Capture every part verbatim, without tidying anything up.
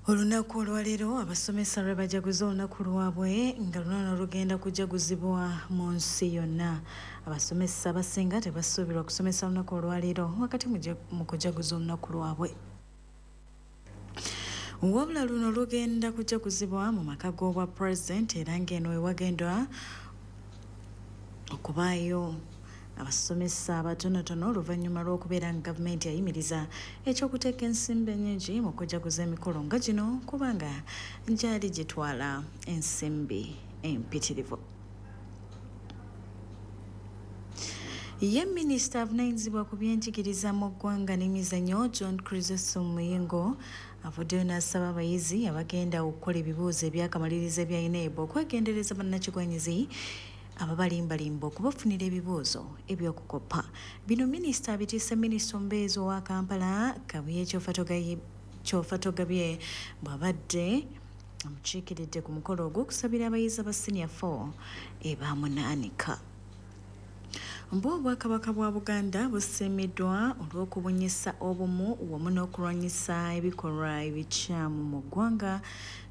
Olunaku olwaleero abasomesa lwe bajaguza olunaku lwabwe nga luno lugenda kujaguzibwa mu nsi yonna. Abasomesa abasinga tebasuubirwa kusomesa olunaku olwaleero wakati mu kujaguza olunaku lwabwe. Wabula luno lugenda kujaguzibwa mu maka g'obwa pulezidenti era ng'eno ewagendwa okubaayo abasomesa abatonotono oluvannyuma lw'okubeera nga gavumenti yayimiriza ekyokuteeka ensimbi ennyingi mu kujaguza emikolo nga gino kubanga gyali gitwala ensimbi empitirivu. Ye minisita avunaanyizibwa ku byenjigiriza mu ggwanga n'emizannyo John Chrysostom Muyingo avuddeyo n'asaba abayizi abagenda okukola ebibuuzo ebyakamalirizo ebya UNEB okwegendereza bannakigwanyizi ababalimbalimba okubafunira ebibuuzo eby'okukoppa. Bino minisita abitiise minisita omubeezi owa Kampala Kabuye Kyofatogabye bw'abadde amukiikiridde ku mukolo ogw'okusabira abayizi aba senior four ebamunaanika. Mbu Obwakabaka bwa Buganda busiimiddwa olw'okubunyisa obumu wamu n'okulwanyisa ebikolwa ebikyamu mu ggwanga.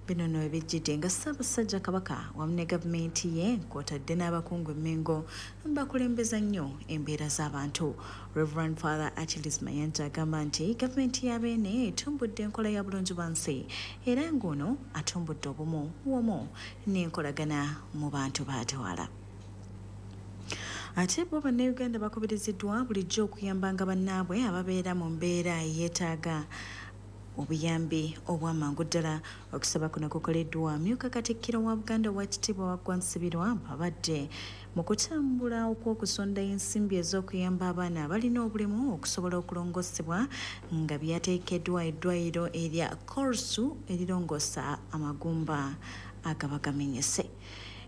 Bino nno ebijjidde nga Ssaabasajja Kabaka wamu ne gavumenti ye kw'otadde n'abakungu e Mmengo bakulembeza nnyo embeera z'abantu. Reverend Father Achilles Mayanja agamba nti gavumenti ya Beene etumbudde enkola ya bulungi bwa nsi era ng'ono atumbudde obumu wamu n'enkolagana mu bantu b'atwala. Ate bo bannayuganda bakubiriziddwa bulijjo okuyambanga bannaabwe ababeera mu mbeera yeetaaga obuyambi obw'amangu ddala. Okusaba kuno kukoleddwa amyuka Katikkiro wa Buganda Oweekitiibwa Waggwa Nsibirwa abadde mu kutambula okw'okusonda ensimbi ez'okuyamba abaana abalina obulemu okusobola okulongoosebwa nga byateekeddwa eddwaliro erya Corsu erirongoosa amagumba agaba gamenyese.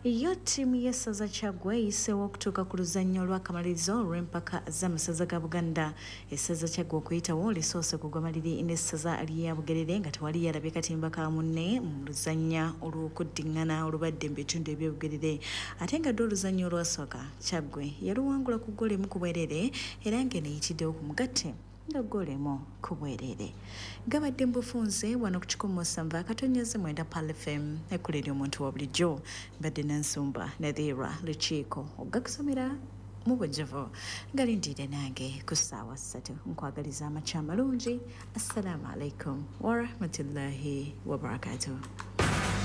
Yo ttiimu y'essaza Kyaggwe eyiseewo okutuuka ku luzannya olw'akamalirizo olw'empaka z'amasaza ga Buganda. Essaza Kyaggwe okuyitawo lisoose kugwa maliri n'essaza lya Bugerere nga tewali yalabye katimba ka munne mu luzannya olw'okuddiŋŋana olubadde mu bitundu eby'e Bugerere. Ate nga dde oluzannya olwasooka Kyaggwe yaluwangula ku ggoolo emu ku bwereere era ng'eno eyitiddewo ku mugatte nga ggoolo emu ku bwereere. Gabadde mu bufunze wano ku kikumi musanvu akatonyeze mwenda Pearl F M ekkula ery'omuntu wa bulijjo. Mbadde Nansumba Nadhira Lukiiko ogakusomera mu bujjuvu galindiire nange ku ssaawa ssatu. Nkwagaliza amakya amalungi. Assalaamu alaikum warahmatullahi wabarakatuh.